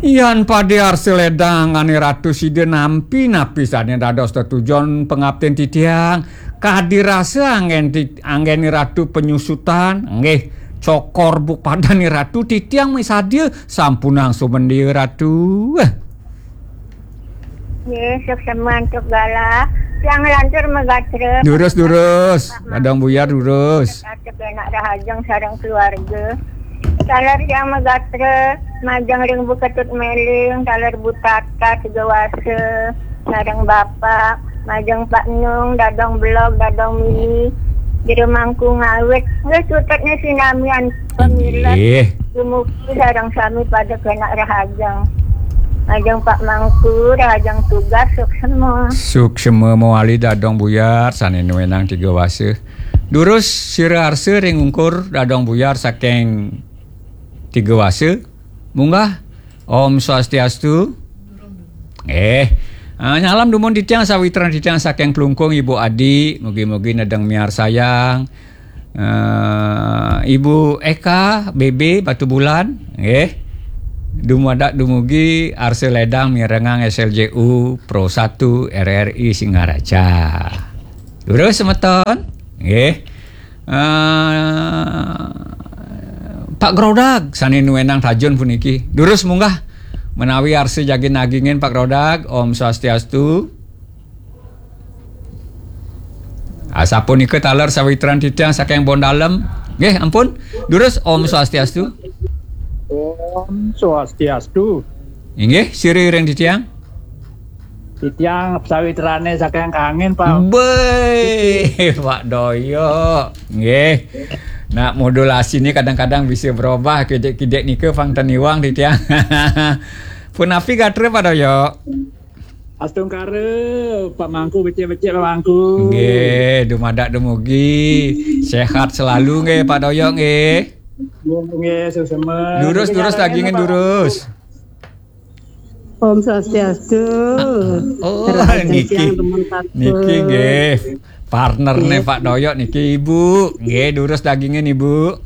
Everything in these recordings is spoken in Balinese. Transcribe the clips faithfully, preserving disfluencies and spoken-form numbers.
Yan pade arsa ledang ane Ratu sida nampi napi sane dados tetujon pangaptin titiang. Kadi rasa anggen ti-, anggen Ratu penyusutan, nggih, cokor buk padane Ratu titiang misadia sampunang sumendia Ratu. Eh. Nggih, suksma antuk galah. Tiang lantur magatra. Durus, durus. Dadong Buyar, durus. Anak rahajeng sareng keluarga. Taler tiang magatra, majeng ring Bu Ketut Meling, taler Bu Tata Tiga Wasa, sareng Bapak, majeng Pak Nung, Dadong Blog, Dadong Mini, Jero Mangku Ngawit. Nggih, sutetnya sinamian pamilet. Nggih. Dumugi sareng sami pada kenak rahajeng. Majeng Pak Mangku, rahajeng tugas, suksma. Suksma mawali Dadong Buyar, sane nuenang Tiga Wasa. Durus sira arsa ring ungkur Dadong Buyar saking Tiga Wasa. Munggah. Om Swastiastu. Eh, ah, nyalam dumun titiang sawitran titiang saking Klungkung, Ibu Adi, mugi-mugi nedeng miarsayang. Eh, Ibu Eka, B B, Batubulan, nggih. Dumadak dumugi arsa ledang mirengang S L J U Pro satu R R I Singaraja. Durus semeton, nggih. Eh, Pak Grodag, sane nuenang tajun puniki. Durus munggah menawi arsa jagi nagingin Pak Grodag. Om Swastiastu. Asapunika taler sawitran titiang saking Bondalem. Nggih, ampun. Durus, Om Swastiastu. Om Swastiastu. Inggih, sira ring titiang. Titiang sawitrane saking Kangin, Pak. Be, Pak Doyok. Nggih. Nak modulasi ini kadang-kadang bisa berubah, kidik-kidik nika pang ten iwang titiang. Punapi gatra, Pak Doyok? Astungkara, Pak Mangku, becik-becik, Pak Mangku. Nggih, dumadak dumugi sehat selalu nggih, Pak Doyok nggih. Nggih, nggih, suksma. Durus, durus, dagingin Pak Mangku. Durus. Om Swastiastu. Oh, Rahajeng niki. Siang, teman satu. Niki nggih. Partnerne Pak Doyok niki, Ibu. Nggih, durus dagingin, Ibu.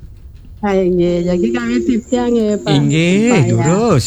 Hai, nggih. Jagi kami titiang nggih, Pak. Inggih, Pak, ya. Durus.